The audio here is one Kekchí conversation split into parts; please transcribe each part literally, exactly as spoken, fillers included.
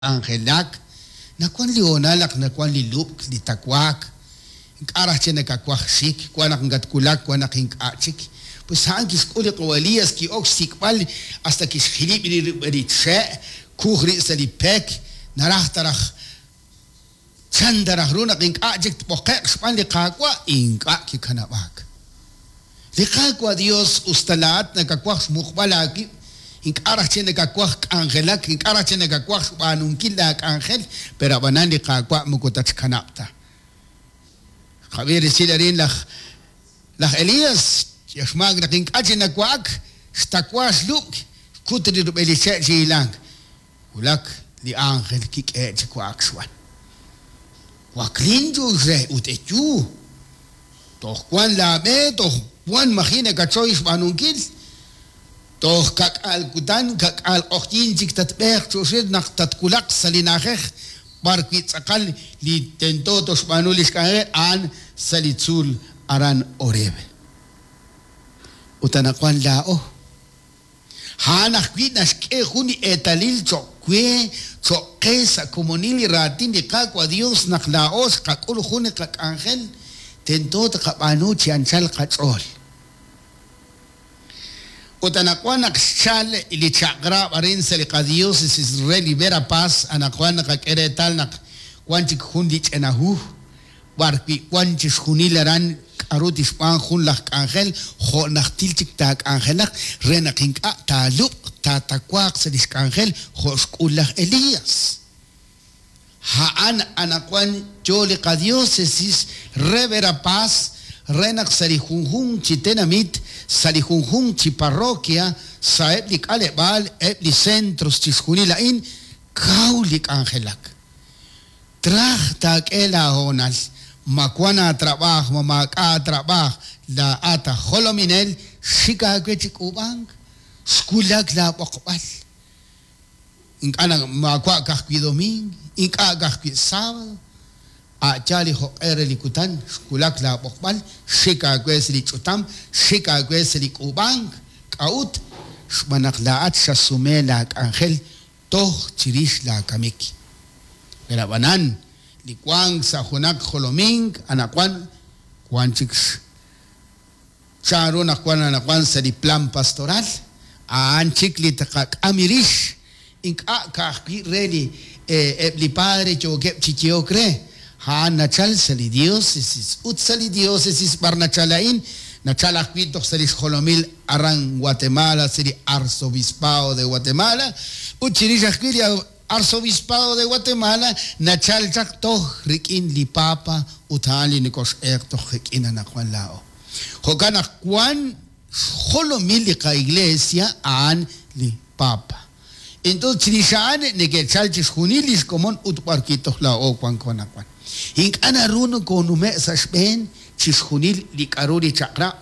K'anjelak, nawank li hoonal naq nawank li lub'k, li tawaak, ink'a' raj chik nakawaj xik, wank naq nakatwulak, wank naq ink'a' chik. Pues a'an kixk'ul li qawa' Elías, ki'ok xsik'b'al hasta kixjilib' rib' rub'el li che', kuj rib' sa' li pek, naraj ta raj chan ta raj ru naq ink'a' chik tb'oqe'q xb'aan li Qaawa', ink'a' kikanab'aak. Li Qaawa' Dios, us ta laa'at nakawaj xmuqb'al aawib', ink'a' raj chik nakawaj k'anjelak, ink'a' raj chik nakawaj xb'aanunkil laak'anjel, pero ab'anan li Qaawa' moko tatxkanab' ta. Xqab'i resil arin laj laj Elías, xmaak naq ink'a' chik nawa'ak, xtawa xlub'k, xkut li rub'el li che' chi hilank. Wulak li ánjel kik'ehe' chi wa'ak xb'aan. Waklin chu'ux re ut eyu. Toj wank laab'e, toj wank maji' nakachoy xb'aanunkil. Toj ka'k'aal kutan, ka'k'aal q'oqyink chik tatb'eeq chu'uxil naq tatwulaq sa' li na'ajej b'arwi' tz'aqal li tento toxb'aanu li xk'anjel a'an sa' li tzuul aran Horeb. Ut anaqwan laa'o. A'an ajwi' naxk'e jun li eetalil cho'q we, cho'q qe sa' komonil li raatin li Qaawa' Dios naq laa'o xqak'ul jun li qak'anjel tento tqab'aanu chi anchal qach'ool. Ut anaqwan naq xchal li chaq'rab' arin sa' li qadiócesis re li Verapaz, anaqwan naqak'e reetal naq wank chik jun li ch'ina hu b'arwi' wank chixjunil aran k'aru tixb'aan jun laj k'anjel jo' najtil chik taak'anjelaq re naq ink'a' taalub'q taatawaaq sa' li xk'anjel jo' xk'ul laj Elías. A'an anaqwan yo li qadiócesis re Verapaz re naq sa' li junjunq chi tenamit, sa' li junjunq chi parroquia, sa'eb' li k'aleb'aal, eb' li centros chixjunil a'in, kaw li k'anjelak. Traj taak'e laahoonal, ma wank aatrab'aaj, ma maak'a' aatrab'aaj, laa'at aj jolominel, xik aawe chi k'uub'ank, xwulak laab'oqb'al. Ink'a' naq maawa' ka'ajwi' domingo, ink'a' ka'ajwi' sábado, a' yaal li jo'q'e re li kutan xwulak laab'oqb'al, xik aawe sa' li ch'utam, xik aawe sa' li k'uub'ank. K'a'ut? Xb'aan naq laa'at xasume laak'anjel toj chirix laakamik. Pero ab'anan li wank sa' junaq jolomink anaqwan wank chik chanru naq wank anaqwan sa' li plan pastoral, a'an chik li tqak'am rix, ink'a' ka'ajwi' re li eb' li padre yookeb' chi yehok re, a'an nachal sa' li diócesis ut sa' li diócesis b'ar nachal a'in, nachal ajwi' toj sa' li xjolomil aran Guatemala, sa' li arzobispado de Guatemala, ut chirix ajwi' li arzobispado de Guatemala nachal chaq toj rik'in li papa ut a'an li nokox'eeq toj qik'in anaqwan laa'o. Jo'kan naq wank xjolomil li qa'iglesia a'an li papa. Entonces chirix a'an neke'chal chixjunil li xkomon ut b'arwi' toj laa'o wanko anaqwan. Ink'a' naru nokonume' sa' xb'een chixjunil li k'aru li chaq'rab',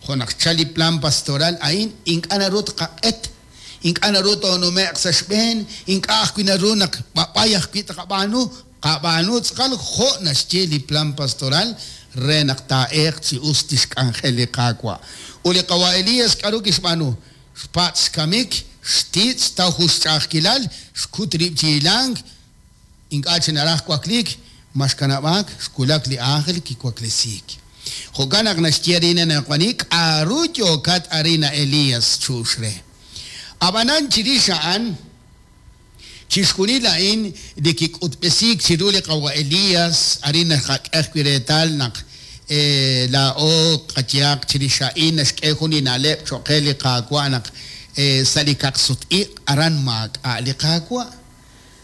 jo' naq xchal li plan pastoral a'in, ink'a' naru tqaq'et, ink'a' naru toonume'q sa' xb'een, ink'a' ajwi' naru naq b'ab'ay ajwi' tqab'aanu, qab'aanu tz'aqal jo' naxye li plan pastoral re naq taa'eeq chi us li xk'anjel li Qaawa'. Ut li qawa' Elías k'aru kixb'aanu? Xpatz' xkamik, xtitz', xtaw jun xch'a'ajkilal, xkut rib' chi hilank, ink'a' chik naraj wakliik, ma xkanab'aak, xwulak li ánjel kiwaklesiik. Jo'kan naq naxye arin anaqwan k'aru yookat arin a Elías chu'ux re. Ab'anan chirix a'an chixjunil a'in li kik'utb'esiik chiru li qawa' Elías, arin naqak'e ajwi' reetal naq laa'o qayehaq chirix a'in naxk'e jun li na'leb' cho'q qe li Qaawa' naq sa' li kaqsut-iq' aran maak'a' li Qaawa',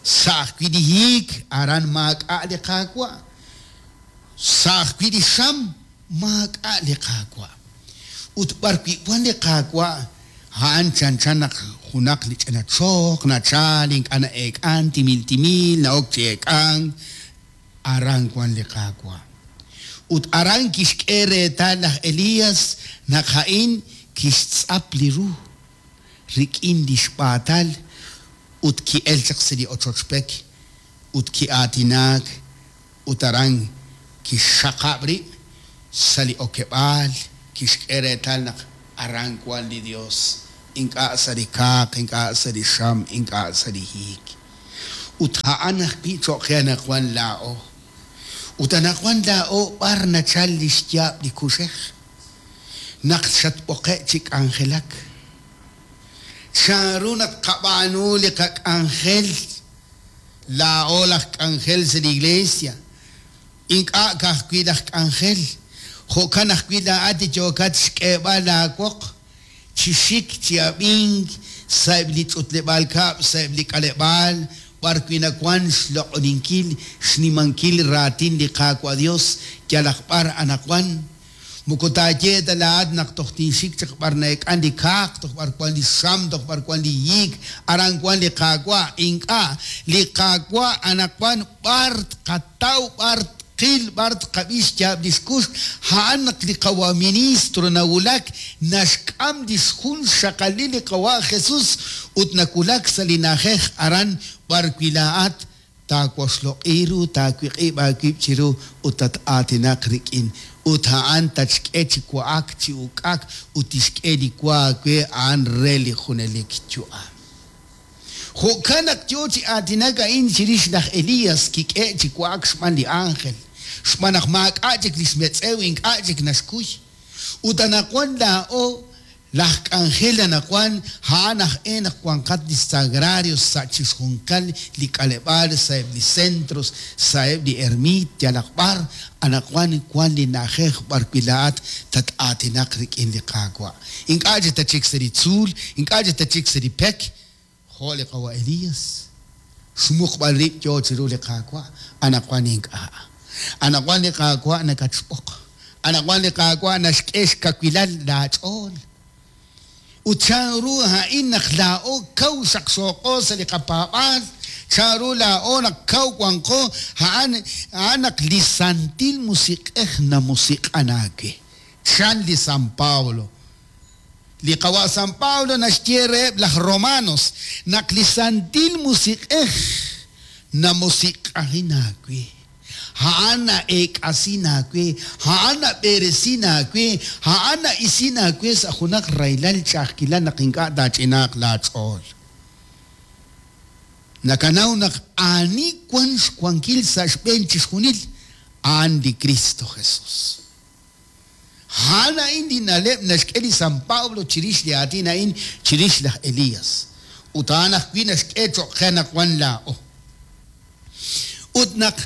sa' ajwi' li hiik aran maak'a' li Qaawa', sa' ajwi' li xam maak'a' li Qaawa'. Ut b'arwi' wank li Qaawa' a'an chanchan naq junaq li ch'ina choq nachal ink'a' na'eek'ank, timil timil na'ok chi eek'ank, aran wank li Qaawa'. Ut aran kixk'e reetal laj Elías naq a'in kixtz'ap li ru rik'in li xb'aatal ut ki'elk chaq sa' li ochoch pek ut ki'aatinaak ut aran kixxaqab' rib' sa' li okeb'aal, kixk'e reetal naq aran wank li Dios, ink'a' sa' li kaaq, ink'a' sa' li xam, ink'a' sa' li hiik. Ut a'an ajwi' cho'q qe anaqwan laa'o. Ut anaqwan laa'o b'ar nachal li xyaab' li kuxej naq xatb'oqe' chi k'anjelak. Chanru naq qab'aanu li qak'anjel laa'o laj k'anjel sa' li iglesia. Ink'a' ka'ajwi' laj k'anjel, jo'kan ajwi' laa'at li yookat xk'eeb'al laawoq chi xik chi ab'ink sa'eb' li ch'utleb'aal kab'l, sa'eb' li k'aleb'aal, b'ar wi' nawank xloq'oninkil, xnimankil raatin li Qaawa' Dios yalaq b'ar anaqwan. Moko taaye ta laa'at naq toj tinxik chaq b'ar na'ek'an li kaaq, toj b'ar wan li xam, toj b'ar wan li hiik, aran wan li Qaawa'. Ink'a', li Qaawa' anaqwan b'ar tqataw, b'ar tqil, b'ar tqab'i xyaab' li xkux, a'an naq li qawa ministro nawulak naxk'am li xjun xaqalil li qawa Jesús ut nawulak sa' li na'ajej aran b'ar wi' laa'at taawoxloq'i ru, taawiq'ib' aawib' chiru ut tat-aatinaq rik'in. Ut a'an tatxk'e chi wa'ak, chi uk'ak, ut tixk'e li wa aawe a'an re li junelik yu'am. Jo'kan naq yo chi aatinak a'in chirix laj Elías kik'e chi wa'ak xb'aan li ángel, xb'aan naq maak'a' chik li xmetz'ew, ink'a' chik naxkuy. Ut anaqwan laa'o laj k'anjel anaqwan a'an aj e naq wanqat li sagrarios sa' chixjunqal li k'aleb'aal, sa'eb' li centros, sa'eb' li ermit, yalaq b'ar, anaqwan wan li na'ajej b'ar wi' laa'at tat-aatinaq rik'in li Qaawa'. Ink'a' chik tachik sa' li tzuul, ink'a' chik tachik sa' li pek, jo' li qawa Elías. Xmuqb'al rib' yo chiru li Qaawa', anaqwan ink'a'. Anaqwan li Qaawa' nakatxb'oq. Anaqwan li Qaawa' naxk'e xkawilal laach'ool. Ut chanru a'in naq laa'o kaw xaqxooqo sa' li qapaab'aal, chanru laa'o naq kaw wanqo, a'an a'an naq li Santil Musiq'ej namusiq'an aawe. Chan li San Pablo. Li qawa San Pablo naxye reheb' laj Romanos naq li Santil Musiq'ej namusiq'ajin aawe. A'an na'eek'asin aawe, a'an nab'eresin aawe, a'an na'isin aawe sa' junaq rahilal ch'a'ajkilal naq ink'a' taach'inaaq laach'ool. Nakanaw naq ani wan xwankil sa' xb'een chixjunil, a'an li Cristo Jesús. A'an a'in li na'leb' naxk'e li San Pablo chirix li aatin a'in chirix laj Elías. Ut a'an ajwi' naxk'e cho'q qe naq wan laa'o. Ut naq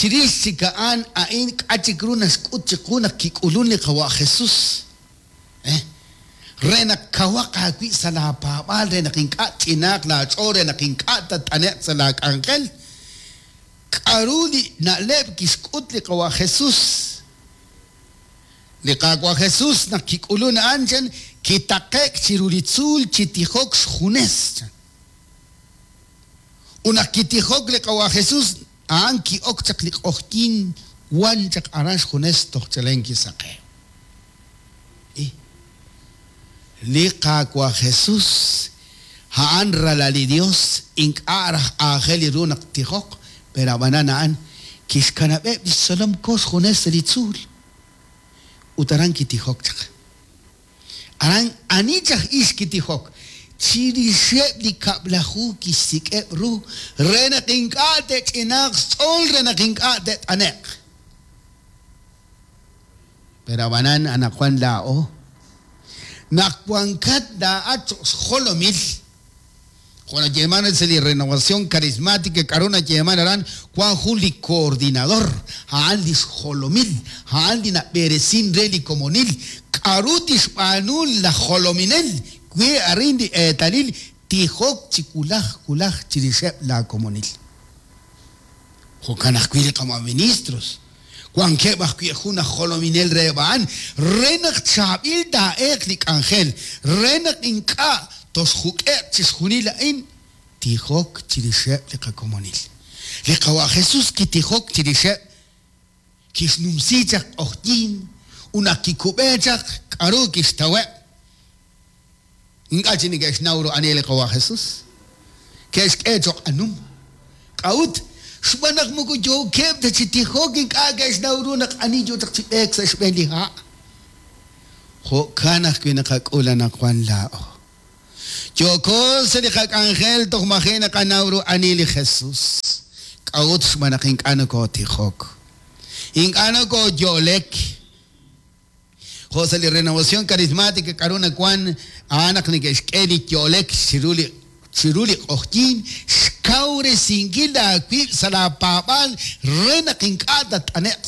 chirix chik a'an a'in k'a' chik ru naxk'ut chiqu naq kik'ulun li qawa Jesús. Eh? Re naq kawaq aawi' sa' laapaab'aal, re naq ink'a' ch'inaaq laach'ool, re naq ink'a' tat'ane'q sa' laak'anjel. K'aru li na'leb' kixk'ut li qawa Jesús? Li Qaawa' Jesús naq kik'ulun a'an chan kitaqe'k chiru li tzuul chi tijok xjunes chan. Ut naq kitijok li qawa Jesús, a'an ki'ok chaq li q'ojyin wan chaq aran xjunes toj chalen kisaqew. Li Qaawa' Jesús a'an ralal li Dios, ink'a' raj aajel li ru naq tijok, pero ab'anan a'an kixkanab'eb' li xtzolom ko xjunes sa' li tzuul. Ut aran kitijok chaq. Aran ani chaj ix kitijok, chirixeb' li kab'laju kixsik'eb' ru re naq ink'a' te'ch'inaaq xch'ool, re naq ink'a' te't'ane'q. Pero ab'anan anaqwan laa'o naq wankat laa'at cho'q xjolomil, jo' nayeeman sa' li Renovación Carismática, k'aru nayeeman aran wan jun li coordinador, a'an li xjolomil, a'an li nab'eresin re li komonil, k'aru tixb'aanu laj jolominel wi arin li eetalil tijok chi wulaj wulaj chirixeb' laakomonil. Jo'kan ajwi' li qama ministros, wankeb' ajwi' jun aj jolominel reheb' a'an, re naq chaab'il taa'eeq li k'anjel, re naq ink'a' toxjuk'e'q chixjunil a'in, tijok chirixeb' li qakomonil. Li qawa Jesús kitijok chirixeb' kixnumsi chaq q'ojyin, ut naq kikub'e chaq k'aru kixtaweb'. Ink'a' chi neke'xnaw ru ani li qawa Jesús. Ke'xk'e cho'q anum. K'a'ut? Xb'aan naq moko yookeb' ta chi tijok, ink'a' ke'xnaw ru naq ani yo chaq chi b'eek sa' xb'een li ha'. Jo'kan ajwi' naqak'ul anaqwan laa'o. Yooko sa' li qak'anjel toj maji' naqanaw ru ani li Jesus. K'a'ut? Xb'aan naq ink'a' nokootijok. Ink'a' nokooyo'lek. Jo' sa' li Renovación Carismática k'aru nawank a'an naq neke'xk'e li yo'lek chiru li chiru li q'oqyink, xkawresinkil aawib' sa' laapaab'aal re naq ink'a' tatt'ane'q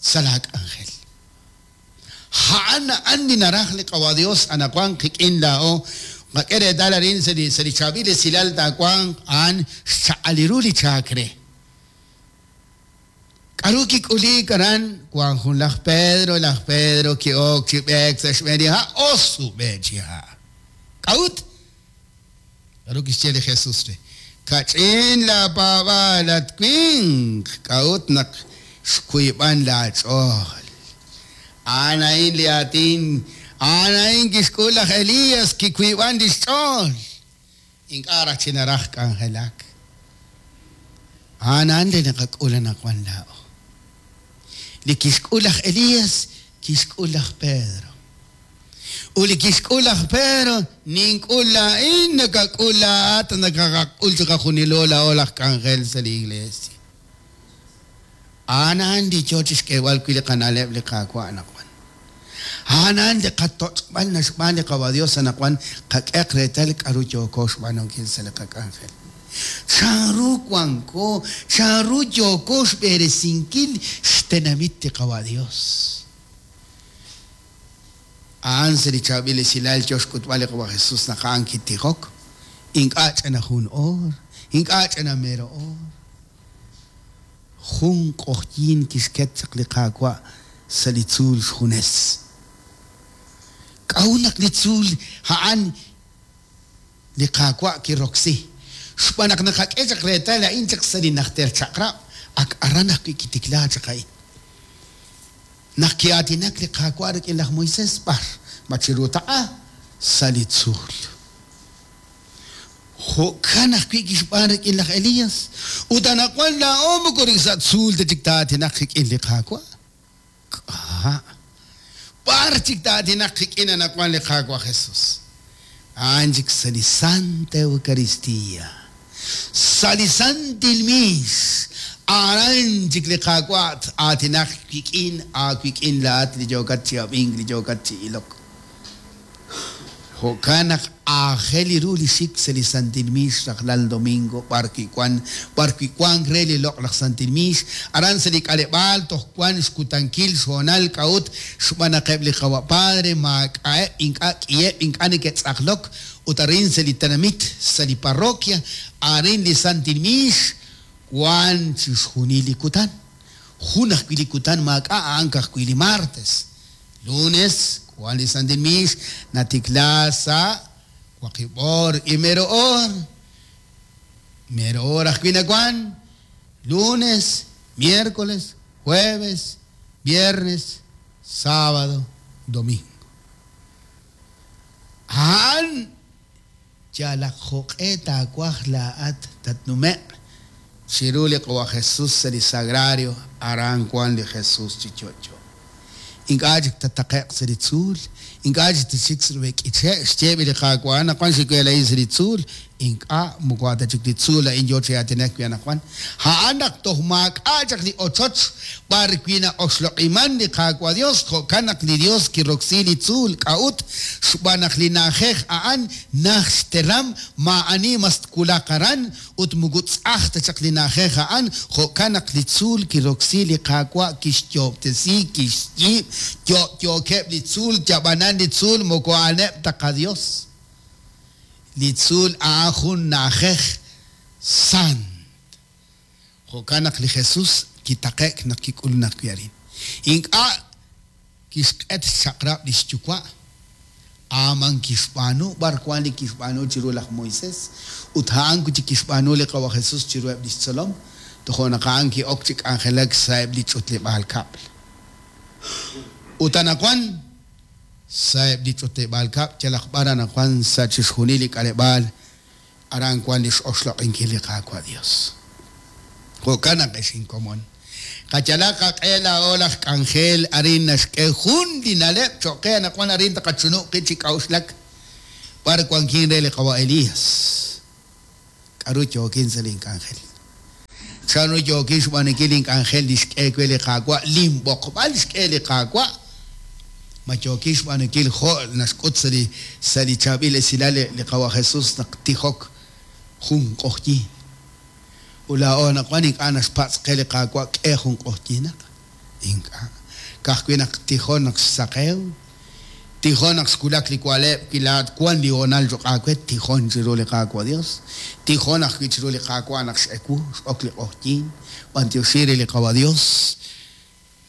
sa' laak'anjel. A'an a'an li naraj li Qawa' Dios anaqwan qik'in laa'o. Qak'e reetal arin sa' li sa' li chaab'il esilal taawanq a'an xchaq'al ru li chaak re. K'aru kik'uliik aran? Wank jun laj Pedro, laj Pedro ki'ok chi b'eek sa' xb'een li ha', osub'e chi ha'. K'a'ut? K'aru kixye li Jesus re? Kach'in laapaab'aal, at winq, k'a'ut naq xkuyb'an laach'ool? A'an a'in li aatin, a'an a'in kixk'ul laj Elías, kikuyb'an li xch'ool. Ink'a' raj chi naraj k'anjelak. A'an a'an li naqak'ul anaqwan laa'o. Li kixk'ul laj Elías, kixk'ul laj Pedro. Ut li kixk'ul laj Pedro, nink'ul laa'in, nakak'ul laa'at, nakaqak'ul chiqajunilo laa'o laj k'anjel sa' li iglesia. A'an a'an li yo chi xk'eeb'al wi' li qana'leb' li Qaawa' anaqwan. A'an a'an li qatoch'b'al naxb'aan li Qawa' Dios anaqwan qak'eq reetal k'aru yooko xb'aanunkil sa' li qak'anjel. Chanru wanko, chanru yooko xb'eresinkil xtenamit li Qawa' Dios. A'an sa' li chaab'il esilal yo xk'utb'al li Qawa' Jesus naq a'an kitijok, ink'a' ch'ina jun oor, ink'a' ch'ina mero oor. Jun q'oqyink kixket chaq li Qaawa' sa' li tzuul xjunes. K'a'ut naq li tzuul a'an li Qaawa' kiroksi? Xb'aan naq naqak'e chaq reetal a'in chaq sa' li najter chaq'rab', ak aran ajwi' kitikla chaq a'in. Naq ki'aatinak li Qaawa' rik'in laj Moisés, b'ar ma chiru taq'a sa' li tzuul. Jo'kan ajwi' kixb'aan rik'in laj Elías. Ut anaqwan laa'o moko sa' tzuul ta chik taa'aatinaq qik'in li Qaawa'. K'a' b'ar chik taa'aatinaq qik'in anaqwan li Qaawa' Jesus? A'an chik sa' li Santa Eucaristía, sa' li Santil Miis, aran chik li Qaawa' aatinaq wik'in, aawik'in laa'at li yookat chi ab'ink, li yookat chi ilok. Jo'kan naq aajel ru li xik sa' li Santil Miix rajlal domingo b'ar wi' wank, b'ar wi' wank re li loq'laj Santil Miix, aran sa' li k'aleb'aal toj wank xkutankil xhoonal k'a'ut xb'aan naq eb' li Qawa' Padre maak'a'eb' ink'a' k'iheb' ink'a' neke'tz'aqlok ut arin sa' li tenamit, sa' li parroquia, arin li Santil Miix wank chixjunil li kutan. Jun ajwi' li kutan maak'a' a'an ka'ajwi' li martes. Lunes wank li Santil Miix natikla sa' waqib' oor y mero oor. Mero oor ajwi' nawank lunes, miércoles, jueves, viernes, sábado, domingo. A'an yalaq jo'q'e taawaj laa'at tatnume'q chiru li Qawa' Jesus sa' li sagrario, aran wank li Jesus chi yo'yo. Ink'a' chik tataqe'q sa' li tzuul, ink'a' chik tatxik sa' li k'iche', xyeeb' li Qaawa' anaqwan xik'e a'in sa' li tzuul, ink'a' moko a' ta chik li tzuul a'in yo chi aatinak wi' anaqwan. A'an naq toj maak'a' chaq li ochoch b'ar wi' na'oxloq'iman li Qaawa' Dios, jo'kan naq li Dios kiroksi li tzuul. K'a'ut? Xb'aan naq li na'ajej a'an naj xteram, maa'ani mas twulaq aran ut moko tz'aj ta chaq li na'ajej a'an, jo'kan naq li tzuul kiroksi li Qaawa' kixyoob'tesi, kixyiib', yo'yookeb' li tzuul, yab'anan li tzuul moko a'aneb' ta qaDios. Li tzuul a'an jun na'ajej sant. Jo'kan naq li Jesus kitaqe'k naq kik'ulun ajwi' arin. Ink'a' kixq'et xchaq'rab' li xyuwa', a'an kixb'aanu b'ar wank li kixb'aanu chiru laj Moisés ut a'an wi' chik kixb'aanu li Qawa' Jesus chiruheb' li xtzolom, tojo' naq a'an ki'ok chi k'anjelak sa'eb' li ch'utleb'aal kab'l. Ut anaqwan sa'eb' li ch'utleb'aal kab'l yalaq b'ar anaqwan sa' chixjunil li k'aleb'aal aran wank li x'oxloq'inkil li Qaawa' Dios. Jo'kan naq ex inkomon. Qayalaq qaq'e laa'o laj k'anjel arin naxk'e jun li na'leb' cho'q qe anaqwan arin taqachunub' qib' chi k'a'uxlak. B'ar wankin re li qawa' Elías? K'aru yookin sa' link'anjel? Chanru yookin xb'aanunkil link'anjel li xk'e we li Qaawa', linb'oqb'al xk'e li Qaawa'? Ma yookin xb'aanunkil jo' naxk'ut sa' li sa' li chaab'il esilal li qawa' Jesús naq tijok jun q'oqyink? Ut laa'o anaqwan ink'a' naxpatz' qe li Qaawa' k'e jun q'oqyinaq. Ink'a'. Ka'ajwi' naq tijon naq xsaqew, tijon naq xwulak li wa'leb', wi laa'at wank li hoonal cho'q aawe, tijon chiru li Qaawa' Dios. Tijon ajwi' chiru li Qaawa' naq x'ewu, x'ok li q'oqyink, b'antioxi re li Qawa' Dios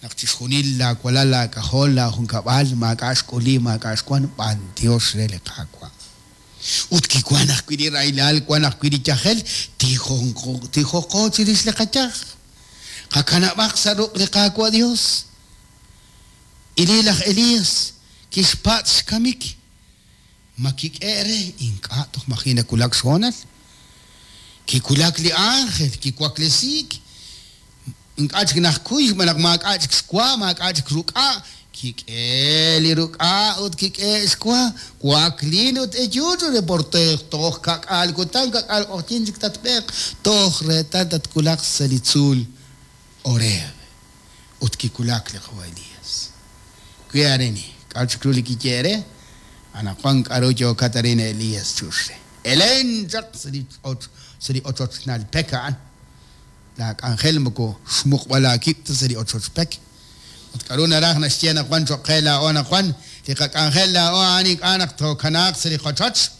naq chixjunil laawalal laak'ajol laajunkab'al maak'a' xk'uli, maak'a' xwank, b'antiox re li Qaawa'. Ut kiwank ajwi' li rahilal, wank ajwi' li yajel, tijonqo tijoqo chirix li qayaj. Qakanab'aq sa' ruq' li Qaawa' Dios. Ili laj Elías kixpatz' xkamik. Ma kik'e re? Ink'a' toj maji' nawulak xhoonal. Kiwulak li ángel, kiwaklesiik. Ink'a' chik najkuy xb'aan naq maak'a' chik xwa, maak'a' chik ruk'a'. Kik'e li ruk'a' ut kik'e xwa. Waklin ut eyu re porte toj kak'al kutan, kak'al q'oqyink chik tatb'eeq. Toj reetal tatwulaq sa' li tzuul Horeb. Ut kiwulak li qawa' Elías. Wi arini, k'aru chik ru li kiye re? Anaqwan k'aru yookat arin Elías chux re. Elen chaq sa' li sa' li ochochnal pek a'an. Laak'anjel moko xmuqb'al aawib' ta sa' li ochoch pek. Ut k'aru naraj naxye anaqwan cho'q qe laa'o anaqwan, li qak'anjel laa'o a'an ink'a' naq tookanaaq sa' li qochoch.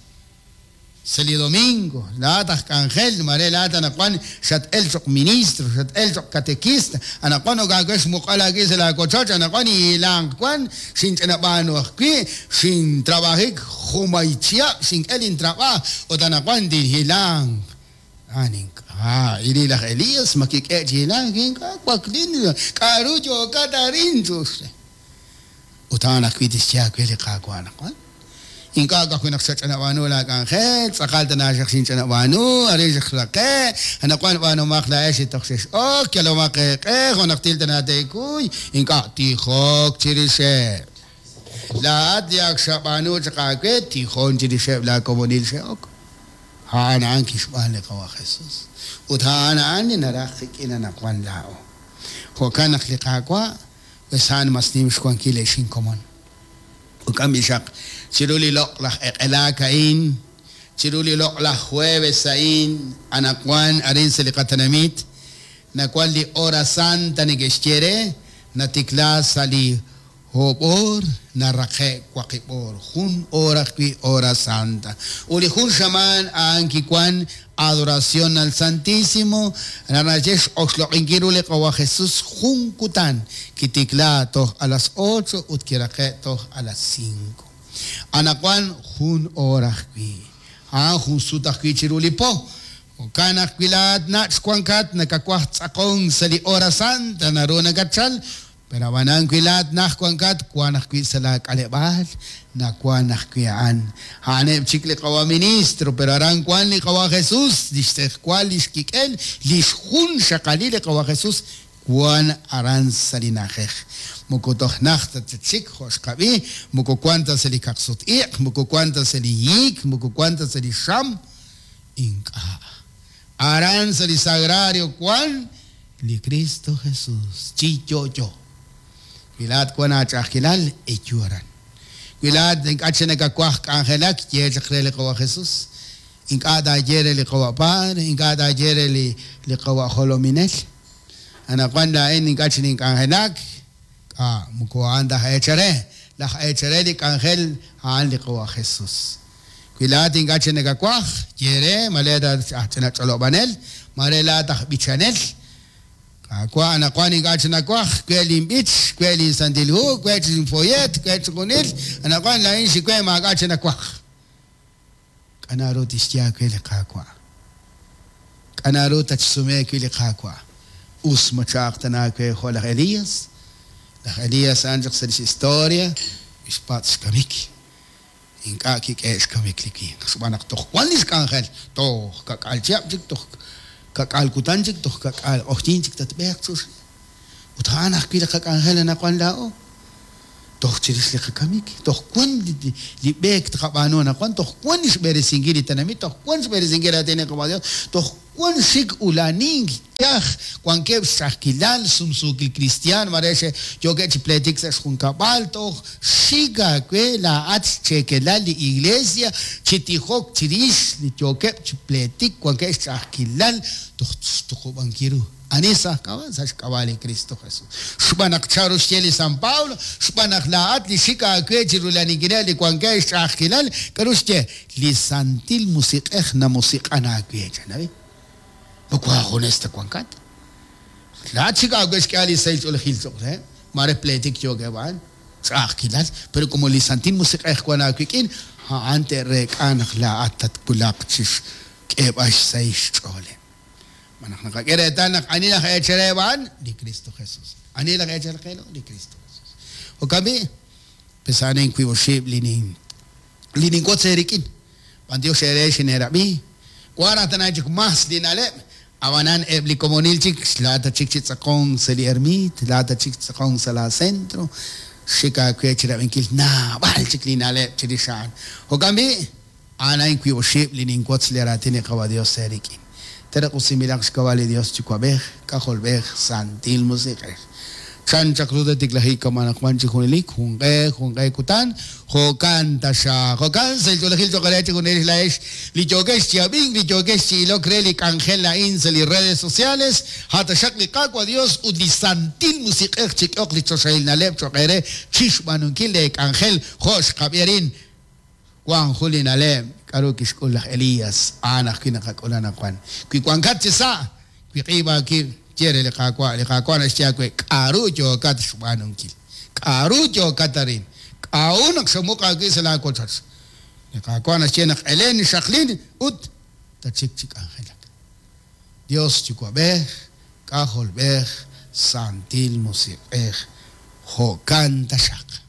Sa' li domingo, laa'at aj k'anjel, mare laa'at anaqwan xat-el cho'q ministro, xat-el cho'q catequista, anaqwan ok aawe xmuq'al aawib' sa' laawochoch, anaqwan hilanq wan, xinch'inab'aanu ajwi', xintrabajik jumay chihab', xink'e lintrab'aj, ut anaqwan tinhilanq. A'an ink'a', ili laj Elías ma kik'e chi hilank, ink'a' waklin, k'aru yookat arin chux re. Ut a'an ajwi' tixye aawe li Qaawa' anaqwan. Ink'a' ka'ajwi' naq xach'inab'aanu laak'anjel, tz'aqal tana xaq xinch'inab'aanu, arin xaq raqe', anaqwan b'aanumaq laa'ex li toj xex'ok, yalomaq eeq'e, jo' naq til tana teekuy, ink'a' tijok chirixeb'. Laa'at li ak xab'aanu chaq aawe, tijon chirixeb' laakomonil xe'ok. A'an a'an kixb'aan li qawa' Jesús. Ut a'an a'an li naraj qik'in anaqwan laa'o. Jo'kan naq li Qaawa', pues a'an mas nim xwankil ex inkomon. Uk'am b'ixaq chiru li loq'laj eq'elaak a'in, chiru li loq'laj jueves a'in, anaqwan arin sa' li qatenamit, nawan li hora santa neke'xye re, natikla sa' li oob' oor, naraqe' waqib' oor, jun hora ajwi' hora santa. Ut li jun xamaan a'an kiwan adoración al Santísimo, naxye x'oxloq'inkil ru li qawa' Jesús jun kutan, kitikla toj a las ocho ut kiraqe' toj a las cinco. Anaqwan jun hora ajwi'. A'an jun sut ajwi' chiru li po. Jo'kan ajwi' laa'at nach' wankat nakawaj tz'aqon sa' li hora santa naru nakatchal, pero ab'anan wi laa'at naj wankat wan ajwi' sa' laak'aleb'aal, nawan ajwi' a'an. A'aneb' chik li qawa' ministro, pero aran wan li qawa' Jesús, li xtz'ejwal, li xkik'el, li xjun xaqalil li qawa' Jesús wan aran sa' li na'ajej. Moko toj naj ta chik jo' xqab'i, moko wan ta sa' li kaqsut-iq', moko wan ta sa' li hiik, moko wan ta sa' li xam, ink'a'. Aran sa' li sagrario wan li Cristo Jesús, chi yo'yo. Wi laa'at wan aach'a'ajkilal, eyu aran. Wi laa'at ink'a' chik nakawaj k'anjelak, ye chaq re li qawa' Jesús. Ink'a' taaye re li qawa' Padre, ink'a' taaye re li li qawa' jolominel. Anaqwan laa'in ink'a' chik nink'anjelak, k'a' moko a'an laj eechare. Laj eechare li k'anjel a'an li qawa' Jesús. Wi laa'at ink'a' chik nakawaj, ye re, mare aj ch'inach'olob'anel, mare laa'at aj b'ichanel. Qaawa' anaqwan ink'a' chik nawaj, we linb'ich, we linsantil hu, we linfoyet, we chixjunil, anaqwan laa'in xiwe maak'a' chik nawaj. K'a' naru tixye aawe li Qaawa'? K'a' naru tatxsume wi' li Qaawa'? Us ma cha'aq tana aawe jo' laj Elías? Laj Elías a'an chaq sa' lix historia, xpatz' xkamik. Ink'a' kik'e xkamik li winq. Xb'aan naq toj wan li xk'anjel, toj kak'al chihab' chik, toj kak'al kutan chik, toj kak'al q'oqyink chik tatb'eeq chux. Ut a'an ajwi' li qak'anjel anaqwan laa'o. Toj chirix li qakamik, toj wan li b'eek tqab'aanu anaqwan, toj wan xb'eresinkil li tenamit, toj wan xb'eresinkil raatin li Qaawa' Dios, toj wan xik ulanink yaj, wankeb' xch'a'ajkilal, sumsuukil kristiaan, mare xe yookeb' chi pleetik sa' xjunkab'al, toj xik aawe laa'at xcheekelal li iglesia chi tijok chirix li yookeb' chi pleetik, wankeb' xch'a'ajkilal, toj xtuqub'ankil ru. Ani sa' xk'ab'a'? Sa' xk'ab'a' li Cristo Jesús. Xb'aan naq chanru xye li San Pablo, xb'aan naq laa'at li xik aawe chi rulaninkileb' li wankeb' xch'a'ajkilal, k'aru xye? Li Santil Musiq'ej namusiq'an aawe, chanabi. Moko aajunes ta wankat. Laa'at xik aawe xk'ehal li sahil ch'oolejil cho'q reheb', mare pleetik yookeb' a'an, ch'a'ajkilal, pero como li Santil Musiq'ej wan aawik'in, a'an te'reek'a naq laa'at tatwulaq chi xk'eeb'al xsahil xch'ooleb'. Manaq naqak'e reetal naq ani laj eechal a'an? Li Cristo Jesús. Ani laj eechal qe? Li Cristo Jesús. Jo'kan b'i', pesanen wiib' oxib' li nin li ninwotz eerik'in. B'antiox eere xineerab'i. Wan raj tana chik mas li na'leb', ab'anan eb' li komonil chik, laata chik chi tz'aqonk sa' li ermit, laata chik tz'aqonk sa' la centro, xik aawe chi rab'inkil naab'al chik li na'leb' chirix a'an. Jo'kan b'i', a'an a'in wiib' oxib' li ninwotz li raatin li Qaawa' Dios eerik'in. Teraq usimilaq xk'ab'a' li Dios Yuwa'b'ej, K'ajolb'ej, Santil Musiq'ej. Chan chaq ru tiklajik kamanaq wan chi junelik, junq'e, junq'e kutan, jo'kan taxaq. Jo'kan sa' ch'oolejil cho'q re chi junelik laa'ex li yookex chi ab'ink, li yookex chi ilok re li k'anjel a'in sa' li redes sociales, ha taxaq li Qaawa' Dios ut li Santil Musiq'ej chik'oq li choxahil na'leb' cho'q eere chi xb'aanunkil lee k'anjel jo' xqab'i arin. Wan jun li na'leb' k'aru kixk'ul laj Elías, a'an ajwi' naqak'ul anaqwan. Wi wankat chi sa', wi q'iib' aawib', ye re li Qaawa', li Qaawa' naxye aawe k'aru yookat xb'aanunkil, k'aru yookat arin, k'a'u naq xamuq aawib' sa' laawochoch. Li Qaawa' naxye naq elen xaqlin ut tachik chi k'anjelak. Dios Yuwa'b'ej, K'ajolb'ej, Santil Musiq'ej, jo'kan taxaq.